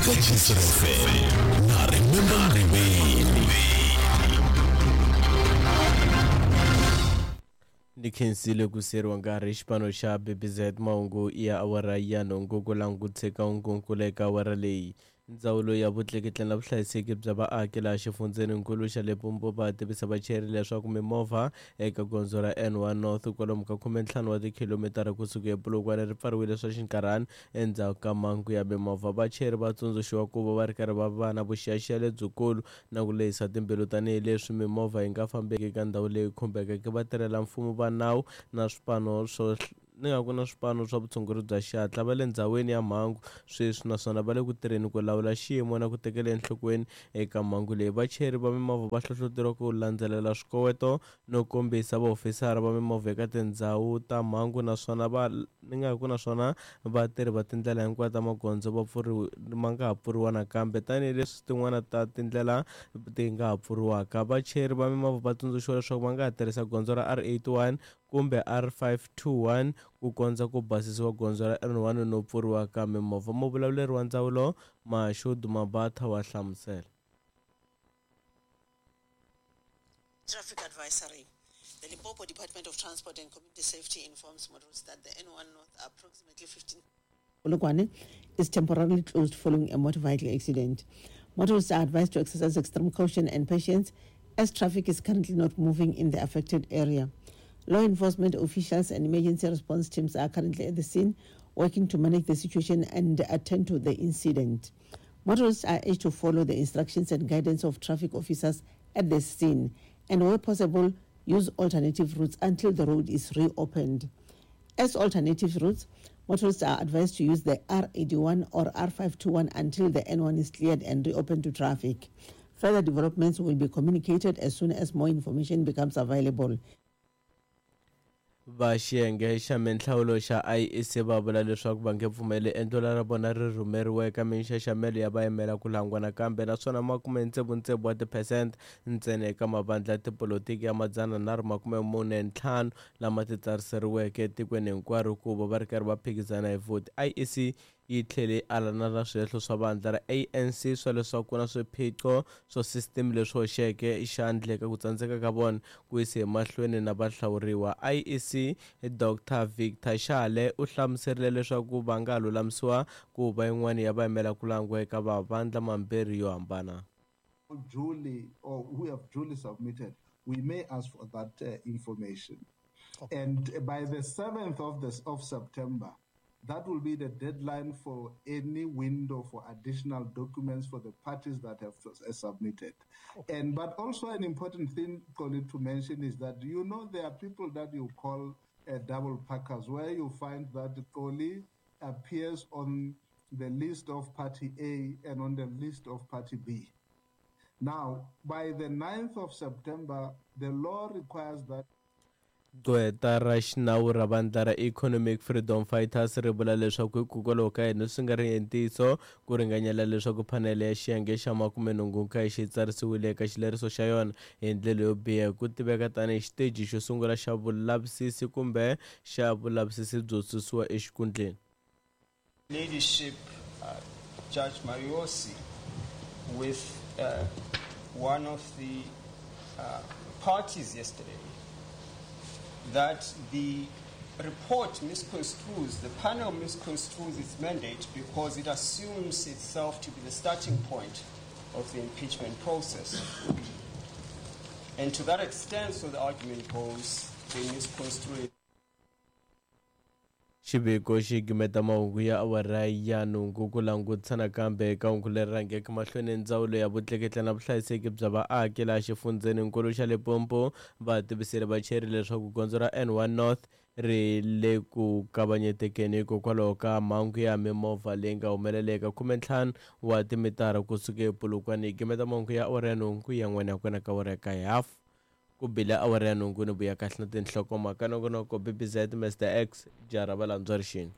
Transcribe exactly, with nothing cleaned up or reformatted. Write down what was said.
Eka Chiefs F M na Remember Ngqibeni. Ni khensile ku seriwa nkarhi xipano xa B B Z mahungu ya awara ya nhungu ku languteka nkunku eka awara leyi. Ndzawulo ya vutleketli na vuhlayiseki bya vaaki laha xifundzeninkulu xa Limpopo va tivisa vachayeri leswaku mimovha eka gondzo ra N one North kwalomu ka khumentlhanu wa tikhilomitara kusuka ePolokwane ri pfariwile swa xinkarhana endzhaku ka mhangu ya mimovha. Vachayeri va tsundzuxiwa ku va va ri karhi va va na vuxiyaxiya lebyikulu na ku lehisa timbilu tanihileswi mimovha yi nga fambeki eka ndhawu leyi khumbekeke. Vatirhela mfumo va nawu na swipano swo ni nga ku na swipano swa vutshunguri bya xihatla va le ndhawini ya mhangu sweswi naswona va le ku tirheni ku lawula xiyimo na ku tekela enhlokweni eka mhangu leyi. Vachayeri va mimovha va hlohloteriwa ku landzelela swikoweto no kombisa vaofisara va mimovha eka tindhawu ta mhangu naswona va ni nga ku naswona vatirhi va tindlela hinkwato ta magondzo va pfuriwa ma nga ha pfuriwa nakambe tanihileswi tin'wana ta tindlela ti nga ha pfuriwaka. Vachayeri va mimovha va tsundzuxiwa leswaku va nga ha tirhisa gondzo ra R eighty-one kumbe R five two one ku kondza ku basisiwa gondzo ra N one no pfuriwa ka mimovha. Muvulavuleri wa ndzawulo Mashudu Mabatha wa hlamusela. Traffic advisory. The Limpopo Department of Transport and Community Safety informs motorists that the N one North approximately fifteen Polokwane is temporarily closed following a motor vehicle accident. Motorists are advised to exercise extreme caution and patience as traffic is currently not moving in the affected area. Law enforcement officials and emergency response teams are currently at the scene working to manage the situation and attend to the incident. Motorists are urged to follow the instructions and guidance of traffic officers at the scene and, where possible, use alternative routes until the road is reopened. As alternative routes, motorists are advised to use the R eighty-one or R five two one until the N one is cleared and reopened to traffic. Further developments will be communicated as soon as more information becomes available. Va xiyenge xa minhlawulo xa I E C va vula leswaku va nge pfumeli endlelo ra vona ri rhumeriwa eka minxaxamelo ya vayimela ku langiwa nakambe naswona makume tsevu wa tiphesente ntsena eka mavandla ya tipolotiki ya madzana nharhu makume mune ntlhanu lama titsariseriweke etikweni hinkwaro ku va va ri karhi va phikizana hi vhoti. I E C yi tlhele yi alana na swihehlo swa vandla ra A N C swa leswaku ku na swiphiqo swa sisiteme leswi hoxeke xandla eka ku tsandzeka ka vona ku yisa emahlweni na vahlawuriwa. I E C Doctor Victor Shale u hlamuserile leswaku va nga lulamisiwa ku va yin'wana ya vayimela ku langiwa eka mavandla mambirhi yo hambana. Duly or who have duly submitted, we may ask for that uh, information. Okay. And by the seventh of this of September, that will be the deadline for any window for additional documents for the parties that have submitted. Okay. And but also an important thing, Colin, to mention is that, you know, there are people that you call uh, double packers, where you find that Koli appears on the list of party A and on the list of party B. Now, by the ninth of September, the law requires that Gqweta ra xinawu ra vandla ra Economic Freedom Fighters ri vula leswaku hikokwalaho ka yini swi nga ri ntiyiso ku ringanyela leswaku phanele ya xiyenge xa makumenhungu nkaye xi tsarisiwile eka xileriso xa yona hi ndlela yo biha ku tiveka tanihi xiteji xo sungula xa vulavisisi kumbe xa vulavisisi byo susiwa exikhundleni. Ladyship uh, Judge Mariosi with uh, one of the uh, parties yesterday that the report misconstrues, the panel misconstrues its mandate because it assumes itself to be the starting point of the impeachment process. And to that extent, so the argument goes, they misconstrue it. Xiviko xi gimeta mahungu ya awara ya nhungu ku langutisa nakambe eka hungu leri rhangeke mahlweni. Ndzawulo ya vutleketli na vuhlayiseki bya vaaki laha xifundzeninkulu xa Limpopo va tivisile vachayeri leswaku gondzo ra N one North ri le ku kavanyetekeni hikokwalaho ka mhangu ya mimovha leyi nga humeleleka khumentlhanu wa timitara kusuka ePolokwane. Gimeta mahungu ya awara ya nhungu ya n'wana ya kona ka awara ya kaye hafu ku bile awara ya nhungu ni vuya kahle na tinhlokomhaka nongonoko B B Z Mister X jara valandzwa rixini.